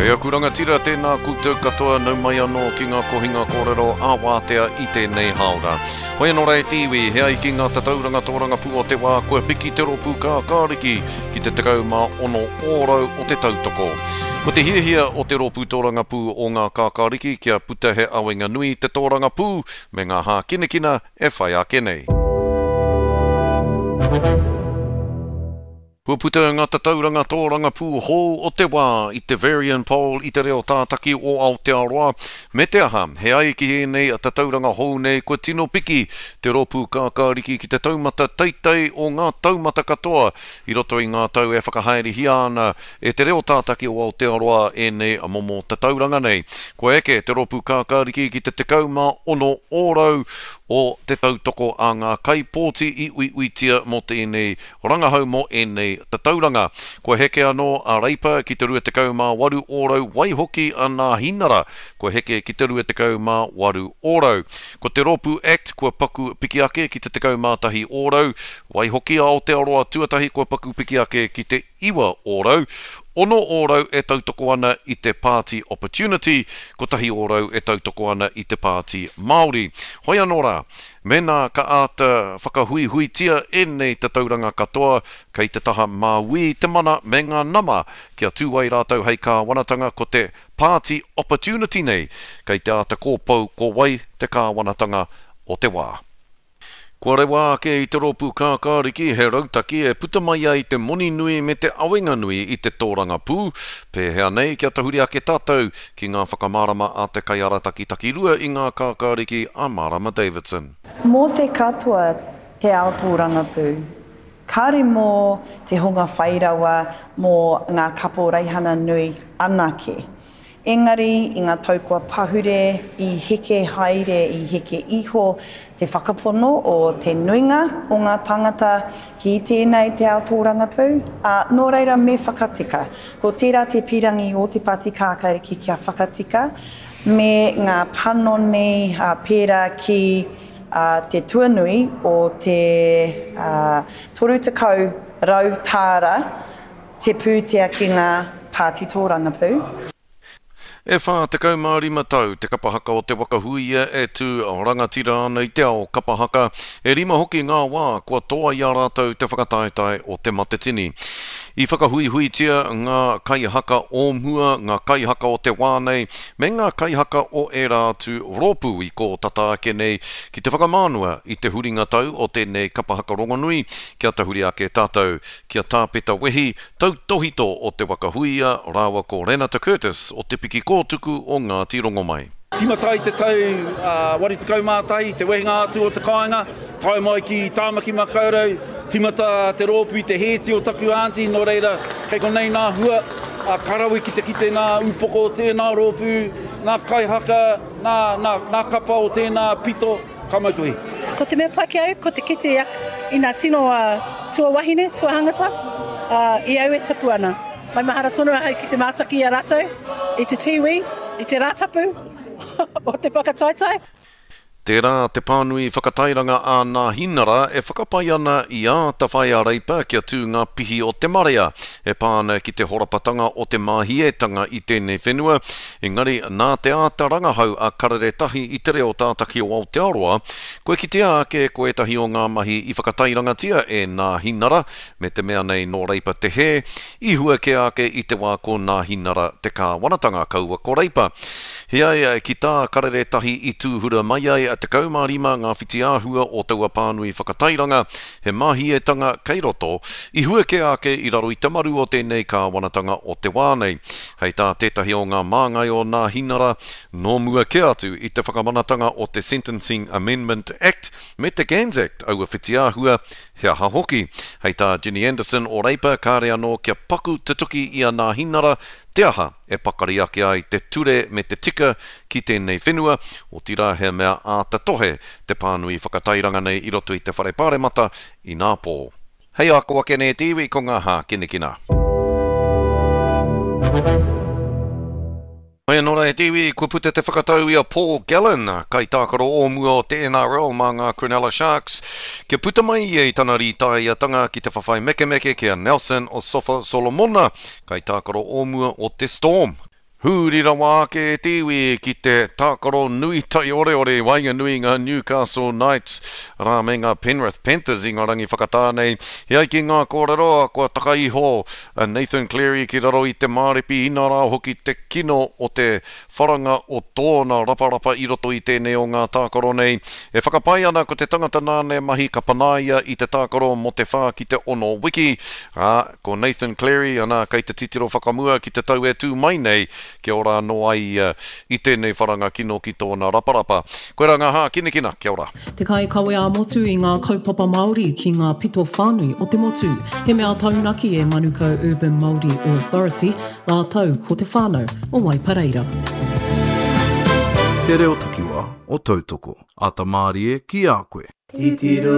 E aku rangatira, tēnā koutou katoa, nau mai anō ki ngā kohinga kōrero ā-wātea i tēnei hāora. Hoi anō rā e te iwi, he ai ki ngā tatauranga tōrangapū o te wā, kua piki te rōpū kākāriki ki te 16 ōrau o te tautoko. Ko te hiahia o te rōpū tōrangapū o ngā kākāriki kia puta he awenga nui te tōrangapū me ngā hākinakina e whai ake nei. Kua puta ngā tatauranga tōrangapū hou o te wā i te Verian Poll i te reo tātaki o Aotearoa, me te aha, he ai ki ēnei tatauranga hou nei kua tino piki te rōpū kākāriki ki te taumata teitei o ngā taumata katoa i roto i ngā tau e whakahaerehia ana e te reo tātaki o Aotearoa ēnei momo tatauranga nei. Kua eke te rōpū kākāriki ki te 16 ōrau o te tautoko a ngā kaipōti i uiuitia mō tēnei rangahau mō ēnei tatauranga. Kua heke anō a Reipa ki te 28 ōrau waihoki a Nāhinara kua heke ki te 28 ōrau. Ko te rōpū act kua paku piki ake ki te 11 ōrau, waihoki a Aotearoa Tuatahi kua paku piki ake ki te 9 ōrau, 6 ōrau e tautoko ana i te Pāti Opportunity, 1 ōrau e tautoko ana i te Pāti Māori. Hoi anō rā, Mēnā ka āta whakahuihuitia ēnei tatauranga katoa, kei te taha māuī te mana me ngā nama kia tū ai rātou hei kāwanatanga ko te Pāti Opportunity nei kei te āta kōpou ko wai te kāwanatanga o te wā. Kua rewa ake i te rōpū kākāriki he rautaki e puta mai ai te moni nui me te awenga nui i te tōrangapū, pēhea nei kia tahuri ake tātou Ki ngā whakamārama a te kaiarataki takirua i ngā kākāriki a Marama Davidson. Mō te katoa te ao tōrangapū. Kāre mō te hunga whairawa mō ngā kaporeihana nui anake. Engari i ngā tau kua pahure, i heke haere, i heke iho te whakapono o te nuinga o ngā tāngata ki tēnei te ao tōrangapū, ā, nō reira me whakatika. Ko tērā te pīrangi o Te Pāti Kākāriki kia whakatika me ngā panoni pērā ki te tuanui o te 30 tāra te pūtea ki ngā pāti tōrangapū. E 45 tau te kapa haka o Te Waka Huia e tū rangatira ana i te ao kapa haka, e rima hoki ngā wā kua toa i a rātou te whakataetae o Te Matatini. I whakahuihuitia ngā kaihaka o mua, ngā kaihaka o te wā nei, me ngā kaihaka o ērā atu rōpū i kō tata ake nei ki te whakamānua i te huringa tau o tēnei kapa haka rongonui kia tahuri ake tātou ki a Tāpeta Wehi, Tautōhito o Te Waka Huia rāua ko Renata Curtis o Te Piki Kōtuku o Ngāti Rongomai. Tīmata ai te tau 81, te wehenga atu o te kāinga, tae mai ki Tāmaki Makaurau, tīmata te rōpū i te hēti o taku aunty, nō reira, kei konei nā hua, ka rawe ki te kite nā ūpoko o tēnā rōpū, nā kaihaka, nā, nā, nā kapa o tēnā pito. Ka mau tohi. Ko te mea pai ki au, ko te kite i nga tino tuawahine, tuahangata, i au e tupu ana. Maumahara tonu ahau ki te mātaki i a ratou, i te tīwī, i te Rātapu o te whakataetae. Tērā te pānui whakatairanga a Nāhinara e whakapae ana i āta whai a Reipa kia tū ngā pihi o te marea e pā ana ki te horapatanga o te māhietanga i tēnei whenua, Engari, nā te āta rangahau a Karere Tahi i te reo tātaki o Aotearoa, kua kitea ake ko ētahi o ngā mahi i whakatairangatia e Nāhinara, me te mea nei nō Reipa te hē, i hua kē ake i te wā ko Nāhinara te kāwanatanga, kaua ko Reipa. Heoi, ki tā Karere Tahi i tūhura mai ai, 15 ngā whitiāhua o taua pānui whakatairanga, He māhietanga kei roto, i hua kē ake i raro i te maru o tēnei kāwanatanga o te wā nei. Hei tā tētahi o ngā māngai o Nāhinara, nō mua kē atu i te whakamanatanga o te Sentencing Amendment Act me te Gans Act aua whitiāhua, he aha hoki. Hei tā Ginny Anderson o Reipa kāre anō kia paku tutuki i a Nāhinara te aha e pakari ake ai te ture me te tika ki tēnei whenua, otirā he mea āta tohe te pānui whakatairanga nei i roto i te Whare Pāremata inā pō. Hei ako ake nei te iwi ko ngā hākinakina. Mai anō rā e te iwi, kua puta te whakatau i a Paul Gallen, kaitākaro o mua o te NRL mā ngā Cronulla Sharks, kia puta mai ia i tana rītāiatanga ki te whawhai mekemeke ki a Nelson Osofa Solomona, kaitākaro o mua o te Storm. Huri rawa ake e te iwi ki te tākaro nui taioreore i waenganui i ngā Newcastle Knights rā me ngā Penrith Panthers i ngā rangi whakatā nei. E ai ki ngā kōrero, kua taka iho a Nathan Cleary ki raro i te māripi inā rā hoki te kino o te wharanga o tōna raparapa i roto i tēnei o ngā tākaro nei. E whakapae ana ko te tangata nāna e mahi ka panaia i te tākaro mō te whā ki te ono wiki, ā, Ko Nathan Cleary, ana, kei te titiro whakamua ki te tau e tū mai nei, kia ora anō ai ia i tēnei wharanga kino ki tōna raparapa. Koirā ngā hākinakina, kia ora. Te kaikawe ā-motu i ngā kaupapa Māori ki ngā pito whānui o te motu. He mea taunaki e Manukau Urban Māori Authority rātou ko te whānau o Waipareira. Te reo takiwa o Tautoko. Ata mārie ki a koe. Titiro.